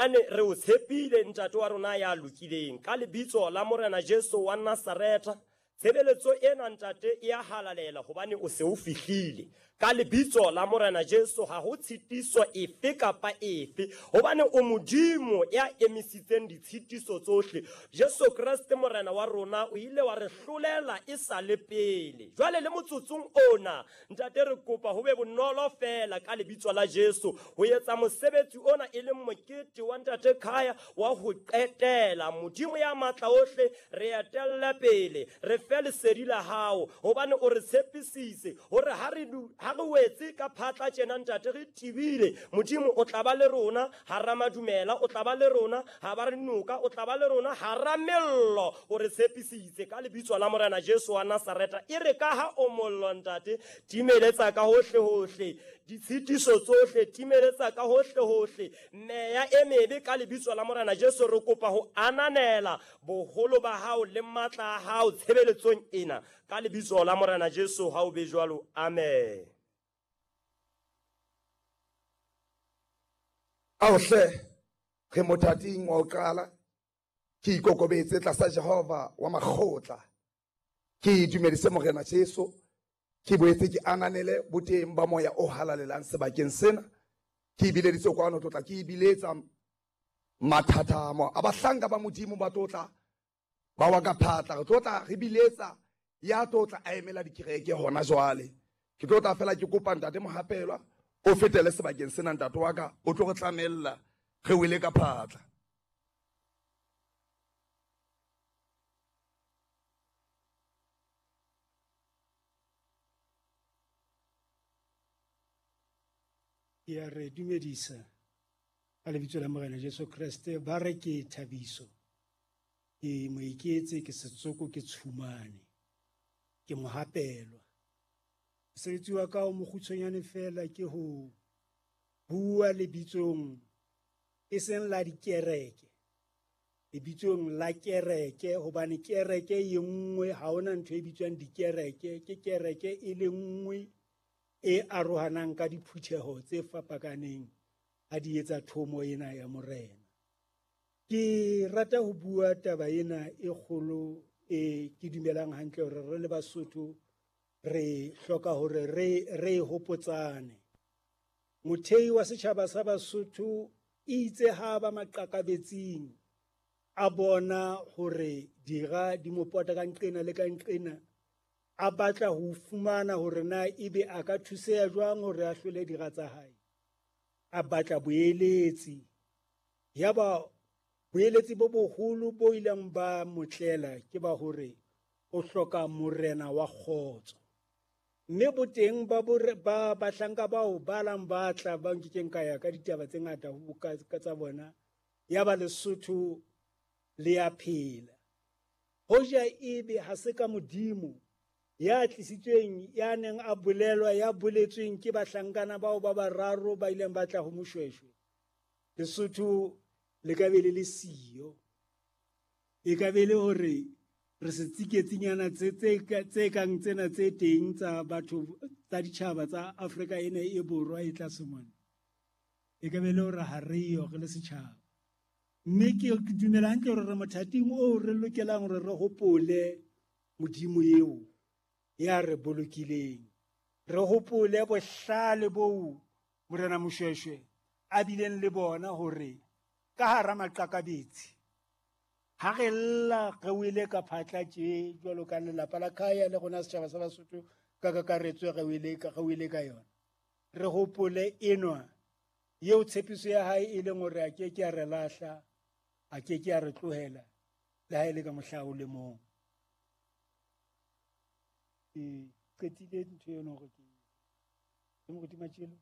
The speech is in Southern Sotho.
Ane re o tshepile ntate wa rona ya lokileng ka lebitso la Morena Jesu wa Nasaretha. Tshebeletso ena ntate e a halalela hobane o se o fihlile. Ka lebitso la Morena Jesu ha ho tshitiso efe kapa efe hobane o Modimo ya emisitseng ditshitiso tsohle. Jesu Kreste Morena wa rona o ile wa re hlolela e sa le pele. Jwale le motsotsong ona Ntate re kopa ho be bonolo fela ka lebitso la Jesu ho etsa mosebetsi ona e leng mokete wa Ntate Khaya wa ho qetela. Modimo ya matla ohle re etelle pele, re fe lesedi la hao hobane o re tshepisitse hore ha re ha re wetse ka phatla tjena Ntate re tibile, Modimo o tla ba le rona hara madumela, o tla ba le rona ha ba re noka, o tla ba le rona hara mello. O re tshepisitse ka lebitso la Morena Jesu wa Nazareta. E re ka ha o mollo Ntate, timeletsa ka hohle hohle ditshitiso tsohle, timeletsa ka hohle hohle meya e mebe ka lebitso la Morena Jesu. Re kopa ho ananela boholo ba hao le matla a hao tshebeletsong ena ka lebitso la Morena Jesu. Ha o be jwalo, amen. Ao hle, re mothating wa ho qala. Ke ikokobetse tlasa Jehova wa makgotla. Ke dumedise Morena Jesu. Ke boetse ke ananele boteng ba moya o halalelang sebakeng sena. Ke ibileditse kwano tlotla, ke ibiletsa mathathamo a bahlanka ba Modimo ba tlotla ba wa ka phatla. Re tlotla re biletsa ya tlotla a emela dikereke hona jwale. Ke tlotla fela ke kopa Ntate Mohapelwa o fetele sebakeng sena, ntate wa ka, o tlo re tlamella re wele ka phatla. Ke a re dumedisa ka lebitso la Morena Jesu Kreste. Ba re ke thabiso, ke moiketse, ke setsoko, ke tshumane, ke mohapelwa. Mosebetsi wa ka o mokgutshwanyane fela ke ho bua lebitsong e seng la dikereke, lebitsong la kereke, hobane kereke e nngwe, ha hona ntho e bitswang dikereke, ke kereke e le nngwe e arohanang ka diphutheho tse fapakaneng ha di etsa thomo ena ya Morena. Ke rata ho bua taba ena e kgolo e ke dumelang hantle hore re le Basotho re hloka hore re re hopotsane. Mothei wa setjhaba sa Basotho itse ha ba maqakabetsing a bona hore dira di mo pota ka nqena le ka nqena, a batla ho fumana hore na ebe a ka thuseha jwang hore a hlole dira tsa hae. A batla boeletsi. Yaba boeletsi bo boholo bo ileng ba motlela ke ba hore o hloka morena wa kgotso. Mme boteng ba ba bahlanka bao ba lang ba tla ba nkekeng ka ya ka ditaba tse ngata ho ka tsa bona, yaba Lesotho le ya phela. Hoja ebe ha se ka Modimo ya tlisitsweng, ya neng a bolelwa, ya boletsweng ke bahlankana bao ba bararo ba ileng ba tla ho Moshweshwe, Lesotho le ka be le le siyo. E ka be le hore re se tsiketsinyana tse kang tsena tse teng tsa batho tsa ditjhaba tsa Afrika ena e borwa e tlase mona. E ka be le hore ha re yo re le setjhaba. Mme ke dumela hantle hore re mothating oo re lokelang hore re hopole Modimo eo ya re bolokileng. Re hopole bohlale boo Morena Moshweshwe a bileng le bona hore ka hara maqakabetsi ha re lla re wele ka phatla tje jwalo ka lelapa la Khaya le rona setjhaba sa Basotho ka kakaretso re wele ka re wele ka yona. Re hopole enwa eo tshepiso ya hae e leng hore a ke ke a re lahla, a ke ke a re tlohela le ha e le ka mohla o le mong. Ke qetile ntho eno hore ke Moruti Matjelo.